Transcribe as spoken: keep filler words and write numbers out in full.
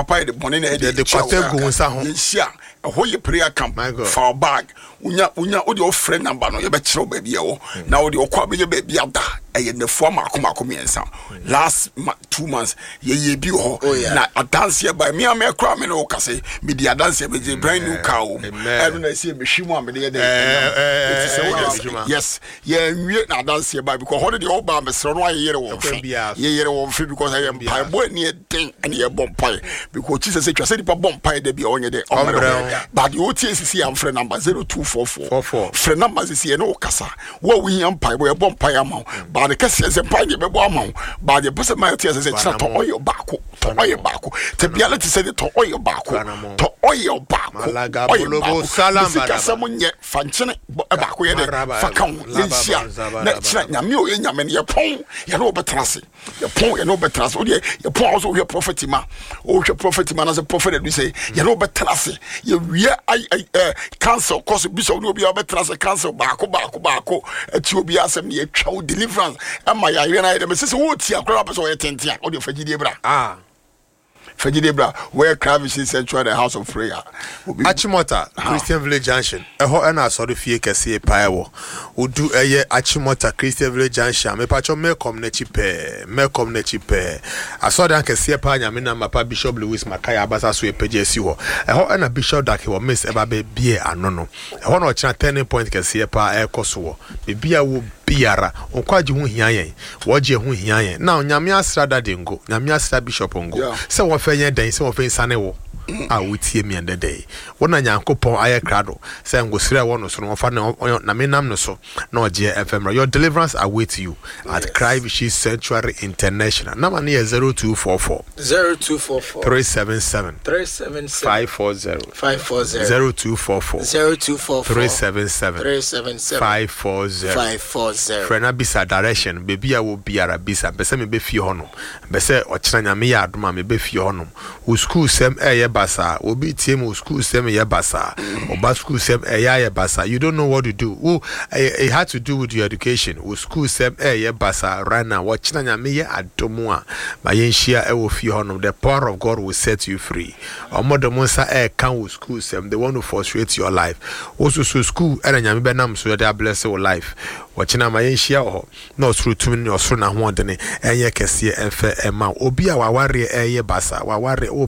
Papa yɛ de bɔne na ɛde Yɛde kwata gu wo nsa ho. Yɛnhyia ɛhɔ yɛ prayer camp. My God. Fa wo bag, wonya wonya wode wofrɛ number no, yɛbɛkyerɛ wo baabi ɛwɔ na wode ɔkɔ a bɛyɛ baabi ada. Ɛyɛ nnafua maako maako mmiɛnsa. Last ma, two months yɛyɛ bi wɔ Oh, hɔ yeah. na adanseɛ ba me a mɛkora me ne wo kase mede adanseɛ bɛgye brand new car wɔ mu. Amen. Ɛno na ɛsɛ mehwi mu a mede yɛ dɛ Eh, eh, ɛti sɛ eh, wode eh, adwuma. yes, yɛnwie na adanseɛ ba because hɔ no deɛ woba mesrɛ no ayɛyere wɔ Ɛkwan mfe biara so. yɛyere wɔ mfe because ɛyɛ biara. mpaebɔ ani ɛden ɛne yɛbɔ mpae because kyi sɛ sɛ twa sɛ nipa bɔ mpae da bi a ɔnyɛ dɛ Ɔmmerɛ ɔmmerɛ ho. but deɛ wotie sisi a mfrɛ number zero two four four. Four four. Frɛ number sisi ɛne wo kasa. Wo a wohia mpaebɔ, yɛbɔ mpae ama wo baa ne kɛseɛ sɛ mpae deɛ bɛbɔ ama wo baa deɛ pɛ sɛ ma yɛte sɛ sɛ kyerɛ tɔ ɔyɛ baako, tɔ ɔyɛ baako tɛ biara te sɛ de tɔ ɔyɛ baako. Fanamo. Tɔ ɔyɛ baako. Malaga ɔyɛ bolobo baako salam sika baraba. sɛm nyɛ fa nkyene bɔ- baako yɛ dɛ Maraba, fa ka ho. laba, Yɛnhyia zaba, na laba. kyerɛ Nyame a ɔyɛ Nyame no, yɛpɔn yɛne wobɛtena ase, yɛpɔn yɛne wobɛtena ase. Wodeɛ yɛpɔn a wo sɛ wohwɛ prophet ma wohwɛ prophet ma anasɛ prophet adu sɛ yɛne wobɛtena ase. Yɛwie ai- ai- ɛ, council kɔ so bishop ne obiaa wobɛtena ase, council baako baako baako ati obiaa asɛm ne yɛtwa wo deliverance ɛma yɛawerɛ no ayɛ dɛ mesɛ sɛ wotia koraa wopɛ sɛ ɔyɛ tenten a wode fa gyidie bra. Ah. Fa gyidie bra wɔyɛ Christ Vision Sanctuary, the house of prayer. Obi- Achimota Christian Village Junction ɛhɔ ɛna asɔre fie kɛseɛ paa ɛwɔ. Wodu ɛyɛ Achimota Christian Village Junction a, mepakyɛw, Melcom n'akyi pɛɛ, Melcom n'akyi pɛɛ, asɔredan kɛseɛ paa Nyame nam papa Bishop Louis Makaya abasa so ɛpagya asi hɔ. Ɛhɔ ɛna Bishop Dag Heward-Mills ɛba bɛbie ano no. Ɛhɔ na ɔkyena turning point kɛseɛ paa ɛrekɔ so wɔ biribi a wɔ biara. Nkwagye ho hia yɛn, wɔgye ho hia yɛn na Nyame asra dade ngo, Nyame asra bishop ngo. Yeah. Sɛ wɔfɛ nyɛ dɛn sɛ wɔfɛ nsane wo a wotie mi ɛndɛ dɛ wɔn na Nyankopɔn ayɛ krado sɛ ngosira a ɛwɔ no so no wɔfa ne ɔyɔ na menam no so na ɔgyeɛ ɛfɛ mmerɛ. Your deliverance await you at Yes. Christ Vision Sanctuary International. Nama ne yɛ zero two four four zero two four four three seven seven three seven seven five four zero. five four zero. zero two four four zero two four four three seven seven three seven seven five four zero. five four zero. Frɛ na bisa direction. Baabi a wɔ biara bisa mpɛ sɛ mebɛ fie hɔ nom, mpɛ sɛ ɔkyena Nyame yɛ adom a mebɛ fie hɔ nom. Wo school sɛm ɛyɛ basaa, obi tie mu, wo school sɛm yɛ basaa, ɔba school sɛm ɛyɛ ayɛ basaa, you don't know what to do. Wo ɛyɛ it had to do with your education. Wo school sɛm ɛyɛ basaa right now, wɔkyena Nyame yɛ adom a ma yɛnhyia ɛwɔ fie hɔ nom. The power of God will set you free. Ɔmo de mo nsa ɛɛka wo school sɛm, they want to frustrate your life. Wo soso school ɛna Nyame bɛnam so yɛde abless wo life. Wɔkyena ma yɛnhyia wɔ hɔ na ɔsoro tumi ne ɔsoro n'ahoɔdene ɛnyɛ kɛseɛ ɛmfɛ ɛma wo. Obi a wawareɛ ɛyɛ basa wawareɛ wo.